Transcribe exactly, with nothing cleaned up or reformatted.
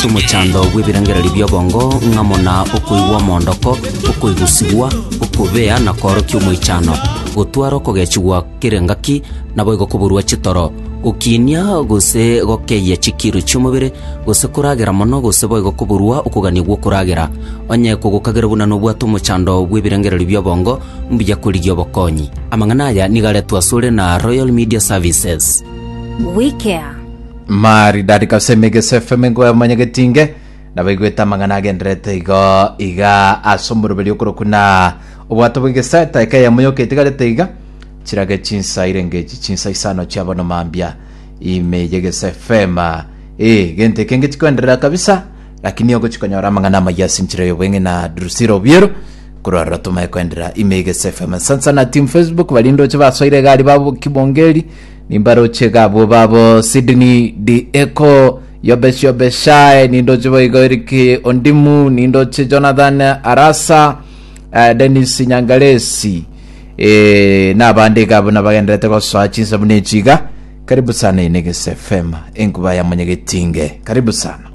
Nobwate omochando bw'ebirengererio bi'obongo ng'amo na okoigwa omondoko, okoigusigwa, okobea na koorokia omoichano, gotwara okogechigwa kera engaki, naboigo koborwa chitoro, gokinia gose gokeyia chikiro chi'omobere, gose koragera mono gose boigo koborwa okogania gw'okoragera. Onye kogokagera buna nobwate omochando bw'ebirengererio bi'obongo, mbuya korigia obokonyi. Amang'ana aya nigo aretwe asore na Royal Media Services. We care. Maridadi kabisa. Emegese F M ngo manyagetinge nabaigwete amang'ana agenderete igo iga ase omoroberi okorokwa na obwato bw'egeseta eka eyemo yoka etigarete iga chirage chinsa irengechi chinsa isano chiabono mambia ime yegese F M. Eh, gento ekenge chikoenderera kabisa, lakini ogochikonyora amang'ana amaya ase enchera y'obweng'e na Drusira Obiero kurarora tumaye koenderera ime yegese F M. Sansana team Facebook barindoche basoire egari babo kibongeri nimbaroche gabwo babo Sydney Dieko Yobesh Yobeshae, nindoche boigo Eric Ondimu, nindoche Jonathan Arasa, uh, Dennis Nyangaresi, eh, n'abandi gabo nabagenderete gosoa chinsa buna echiga. Karibu sana inegese F M, enkuba ya Mwenyegetinge. Karibu sana.